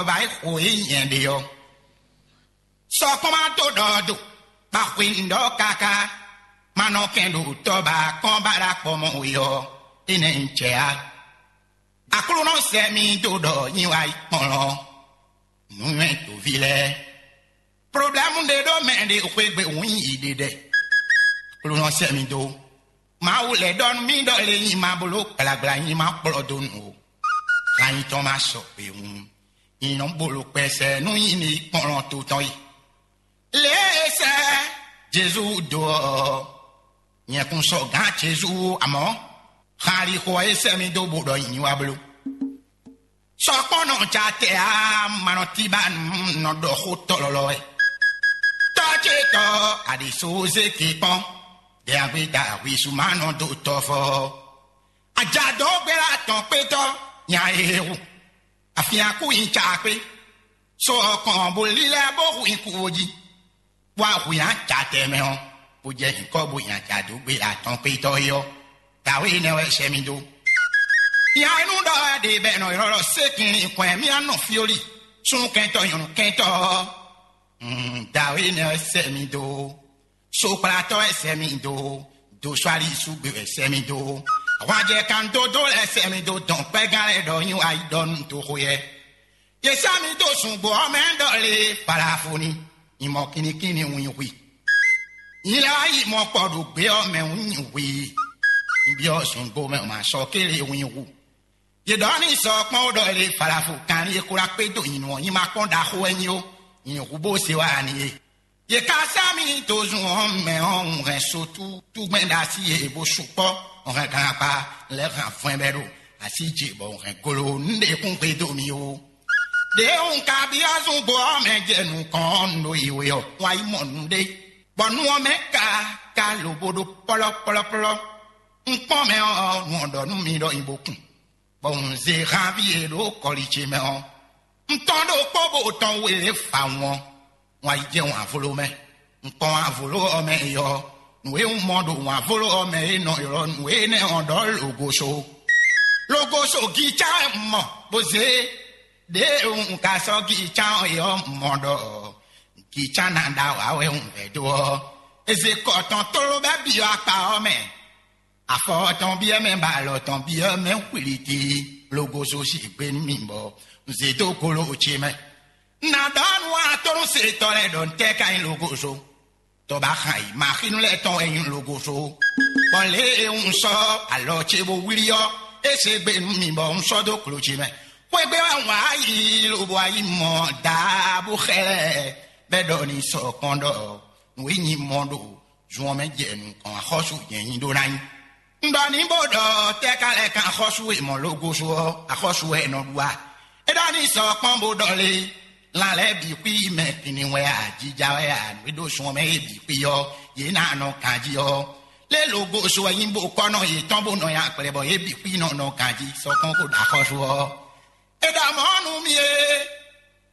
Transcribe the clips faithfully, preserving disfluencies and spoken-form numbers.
Tɔba e xo e nyɛ ɖe ɔ́, sɔkpɔ́n ma dó ɖɔ do, ba xwe nǔ ɖɔ káká, ma nɔ kɛn ɖo tɔba kɔn ba ɖo akpɔ mɔ we ɔ́, énɛ́ un jɛ á. Aklúnɔ sɛ mi dó ɖɔ nyi wá yi kplɔ́n nǔnywɛ́ toví lɛ́ɛ. Problɛ́mu ɖé ɖó mɛ ɖě xwégbé wǔ nyi yi ɖe ɖɛ. Aklúnɔ sɛ mi dó. Mawu lɛ́ ɖɔ nú mì ɖɔ lě nyi ma bló gblagbla nyi ma kplɔ́ dó nǔ o. Kan nyitɔn ma sɔ kpewun. Nyi nɔ bolo kpɛsɛ nú nyi ní kplɔ́n to tɔn yi. Lě e sɛ Jezu dó ɔ́, nyɛ kún sɔ gǎn Jezu amɔ̌. Xalixo ɔ́ e sɛ mì dó bó ɖɔ nyi wá bló. Sɔkpɔ́nɔ ca tɛ a ma nɔ tí ba nɔ ɖɔ xó tɔlɔlɔ wɛ. Tɔ́ ce tɔ́ aɖǐsózéke kpɔ́n, dɛ̌ngbé da ahwisu ma nɔ dó tɔ́fɔ. Ajadó gbéra tɔn kpétɔ́ nya e hu. Afin akú nyi ca kpé. So ɔkɔn bó lílɛ́ bó hu nyi kúwo jí. Bó ahu nyi aca tɛnmɛ ɔ́, bó jɛ nyǐkɔ bó nyi aca dó gbéra tɔn kpétɔ́ é ɔ́, dǎwe énɛ́ wɛ sɛ mì dó. Nya e nú ɖɔ wɛ ɖe bɔ è nɔ ylɔ́ ɖɔ sékinlin kɔn ɛ mì anɔ fyoli, súnnu kɛntɔ́ nyɔ̌nu kɛntɔ́ ɔ́, dǎwe énɛ́ wɛ sɛ mì dó. Sokplatɔ́ wɛ sɛ mì dó. Doswali súgbe wɛ sɛ mì dó. Ahwanjɛ kan dódó lɛ́ɛ sɛ mì dó dɔn kpɛ́gán lɛ́ɛ ɖɔ nyi wá yi ɖɔ nú toxo yɛ. Yě sá mì dó zungbó ɔ́ mɛ ɖɔ lě Falafoni, nyi mɔ kinnikínní wun nyi hwi. Nyi lɛ́ wá yi mɔ kpɔ ɖo gbě ɔ́ mɛ wun nyi hwi. Nyi byɔ́ zungbó mɛ ma sɔ kélé wun nyi hu. Yě ɖɔ n'i sɔ kpɔ́n ó ɖɔ lě Falafo kanlin e xó ná kpé dó nyinu ɔ́ nyi ma kpɔ́n ɖaxó wɛ nyi ó, nyi hu bó se wá ani é. Yě ka sá mì dó zun ɔ́ mɛ ɔ́, un hɛn sotútúgbɛ́n ɖo así e bó sukpɔ́, un hɛn ganakpa lɛ́ hɛn avɔn bɛ́ ɖo así ce bɔ un hɛn golo nǔɖé kún xwedó mì ó. Ɖě un ka byɔ́ zungbo ɔ́ mɛ jɛ nukɔn ɔ́, un ɖo yi we ɔ́, un wá yi mɔ nǔɖé, bɔ nu ɔ́ mɛ ka ka lobo ɖó pɔ́lɔ́pɔ́lɔ́pɔ́lɔ́. Un kpɔ́n mɛ ɔ́, nu ɔ́ ɖɔ nú mi ɖɔ nyi bó kun, bɔ un zé hanví e ɖo kɔli ce mɛ ɔ́. Un tɔ́n ɖokpó bó tɔn we lě fa wɔn, wǎn yi jɛ wǎnvló mɛ. Un kpɔ́n wǎnvló ɔ́ mɛ é ɔ́, nǔ e un mɔ ɖo wǎnvló ɔ́ mɛ é nɔ ylɔ́ nǔ énɛ́ ɔ́ ɖɔ logoso. Logoso gícá wɛ un mɔ bó zé. Ɖěe un ka sɔ́ gícá ɔ́ é ɔ́, un mɔ ɖɔ gícá ná ɖa wǎ wɛ un vɛ̌ dó ɔ́, é zé kɔ tɔn tló bɛ́ byɔ́ akpa ɔ́ mɛ. Afɔ tɔn byɔ́ mɛ bɔ alɔ tɔn byɔ́ mɛ xwiliti. Logoso si gbe nú mì bɔ un zé dó golo ce mɛ. Un ná ɖɔ nú atónúsetɔ́ lɛ́ɛ ɖɔ un tɛ́ ka nyí logoso. Tɔba xan yi maxínu lɛ́ɛ tɔn wɛ nyí logoso. Bɔ lě e un sɔ́ alɔ ce bó wlí ɔ́, é se gbe nú mì bɔ un sɔ́ dó klo ce mɛ. Xwégbé wɛ un wá yi lobo wá yi mɔ daa bó xɛ lɛ́ɛ bɛ́ ɖɔ ní sɔ kpɔ́n ɖɔ nǔ e nyi mɔ ɖo zun ɔ́ mɛ jɛ nukɔn axɔ́sú nyɛ nyi ɖó ná nyí. Un ɖɔ ní bó ɖɔ tɛ́ ka lɛ́ kan axɔ́sú e mɔ logoso ɔ́, axɔ́sú wɛ è nɔ ɖu a? É ɖɔ ní sɔ kpɔ́n bó ɖɔ lé, lan lɛ́ɛ bǐ xwí mɛ kinni wɛ a, jija wɛ a, nǔ e ɖo sun ɔ́ mɛ é bǐ xwí ɔ́, yě ná nɔ ganjí ɔ́. Lé logoso wɛ nyí bó kɔ́ nɔ yětɔn bó nɔ nyi akplɛ bɔ yě bǐ xwí nɔ nɔ ganjí sɔ kpɔ́n kó ɖo axɔ́sú ɔ́. È ɖɔ mɔ̌ nú mì é,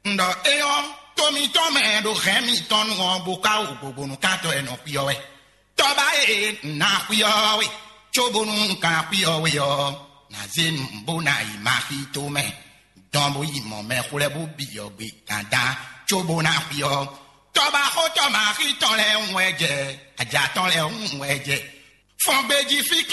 un ɖɔ éyɔ́, to mitɔn mɛ ɖo hɛ̌n mitɔn nu ɔ́, bó ka wo gbogbo nú kantɔ́ e nɔ xwí ɔ́ wɛ. Tɔ́ba e un ná xwí ɔ́ we, cóbónú un ka ná xwí ɔ́ we ɔ́, ná zé nu bó ná yi Maxi tomɛ, dɔn bó yi mɔ mɛxwlɛ́bú bǐ ɔ́ gbe gǎndán, cóbó ná xwí ɔ́. Tɔ́ba xótɔ́ Maxi tɔn lɛ́ɛ ń wɛ jɛ, ajǎ tɔn lɛ́ɛ ń wɛ jɛ. Fɔn gbejí fí